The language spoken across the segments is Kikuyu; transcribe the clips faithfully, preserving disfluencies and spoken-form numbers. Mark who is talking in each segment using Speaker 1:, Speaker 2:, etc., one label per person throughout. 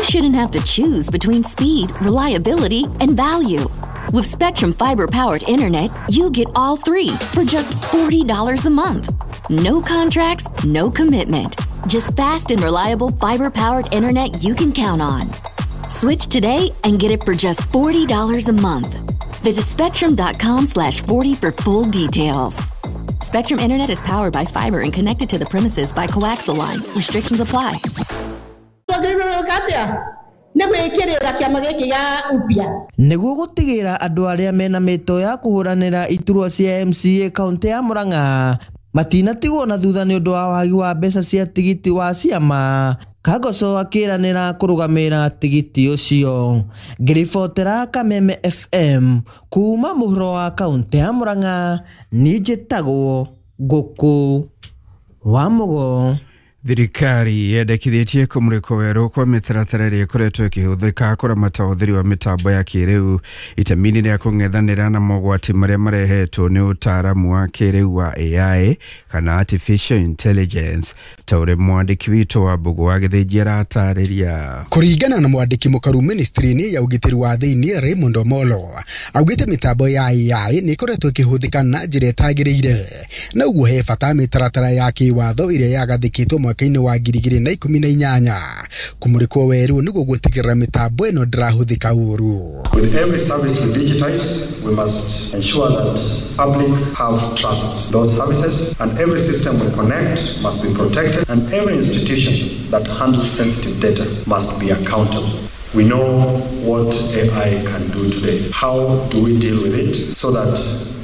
Speaker 1: shouldn't have to choose between speed, reliability, and value. With Spectrum fiber-powered internet, you get all three for just forty dollars a month. No contracts, no commitment. Just fast and reliable fiber-powered internet you can count on. Switch today and get it for just forty dollars a month. Visit spectrum dot com slash forty for full details. Spectrum Internet is powered by fiber and connected to the premises by coaxial lines. Restrictions apply.
Speaker 2: Twagĩrĩirwo gwĩka atĩa nĩ gwĩkĩrĩra kĩama gĩkĩ gĩa upya.
Speaker 3: Nĩguo gũtigĩra andũ arĩa mena mĩto ya kũhũranĩra iturwa cia M C A kaunti ya Murang'a matinatigwo na thutha nĩ ũndũ wa wagi wa mbeca cia tigiti wa ciama, Kagoco akĩranĩra kũrũgamĩrĩra tigiti ũcio. Ngĩribotera Kameme F M kuma mũhuro wa kaunti ya Murang'a, niĩ njĩtagwo Ngũkũ wa Mũgo.
Speaker 4: Thirikari yendekithĩtie kũmũrĩkwo werũ kwa mĩtaratara ĩrĩa ĩkoretwo ĩkĩhũthĩka kũramata ũhũthĩri wa mĩtambo ya kĩrĩu itemi-inĩ rĩa kũng'ethanĩra na mogwati marĩa marehetwo nĩ ũtaaramu wa kĩrĩu wa A I kana artificial intelligence, ta ũrĩa mwandĩki witũ wa Mbũgũ wa Gĩthĩnji aratarĩria.
Speaker 5: Kũringana na mwandĩki mũkaru ministry-inĩ ya ũgitĩri wa thĩinĩ Raymond Omolo, augĩte mĩtambo ya A I nĩ ĩkoretwo ĩkĩhũthĩka na njĩra ĩtagĩrĩire, na ũguo he bata mĩtaratara ya kĩwatho ĩrĩa yagathĩkĩtwo mwaka-inĩ wa ngiri igĩrĩ na ikũmi na inyanya kũmũrĩkwo werũ nĩguo gũtigĩrĩra mĩtambo ĩno ndĩrahũthĩka ũru.
Speaker 6: With every service we digitize, we must ensure that public have trust those services, and every system we connect must be protected, and every institution that handles sensitive data must be accountable. We know what A I can do today. How do we deal with it so that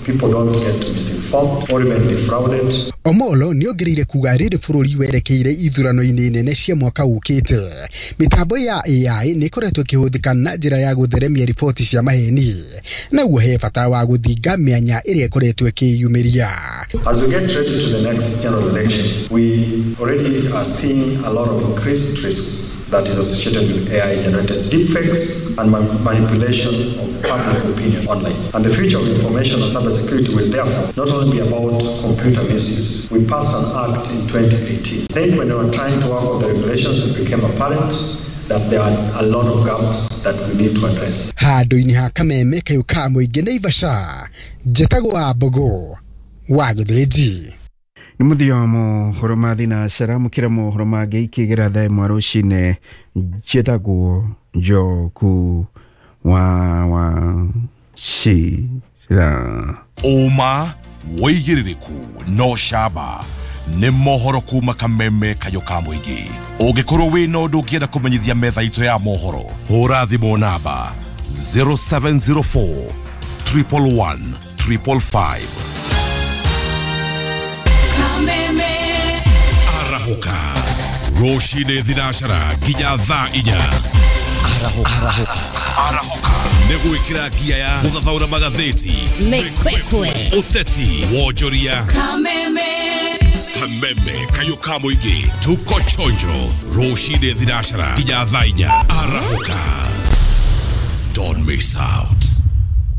Speaker 6: people don't get misinformed or even defrauded?
Speaker 5: Omolo nĩ ongereire kuga rĩrĩ bũrũri werekeire ithurano-inĩ nene cia mwaka ũkĩte, mĩtambo ya A I nĩ ĩkoretwo ĩkĩhũthĩka na njĩra ya gũtheremia riboti cia maheni, na ũguo he bata wa gũthinga mĩanya ĩrĩa ĩkoretwo ĩkĩyumĩria.
Speaker 6: As we get ready to the next general elections, we already are seeing a lot of increased risks that is associated with A I generated deepfakes and ma- manipulation of public opinion online. And the future of information and cybersecurity will therefore not only be about computer misuse. We passed an act in twenty eighteen. I think when we were trying to work on the regulations, it became apparent that there are a lot of gaps that we need to address.
Speaker 5: Handũ-inĩ ha Kameme kayũ ka mũingĩ Naivasha, njĩtagwo wa Mbũgũ wa Gĩthĩnji.
Speaker 4: Nĩ mũthia wa mohoro ma thinacara. Mũkĩra mohoro mangĩ ikĩgĩra thaa ĩmwe rũcinĩ. Njĩtagwo Njoku wa wa Cira.
Speaker 7: Ũma, wĩigĩrĩrĩku no camba nĩ mohoro kuma Kameme kayũ ka mũingĩ. Ũngĩkorwo wĩna ũndũ ũngĩenda kũmenyithia metha itũ ya mohoro, hũra thimũ namba zero seven zero four triple one triple five. Arahũka rũcinĩ thinacara nginya thaa inya. Arahũka nĩ gwĩkĩra ngia ya gũthathaũra magathĩti,
Speaker 8: Mĩkwekwe,
Speaker 7: ũteti, wonjoria. Kameme kayũ ka mũingĩ, tuko chonjo rũcinĩ thinacara nginya thaa inya. Arahũka, don't miss out.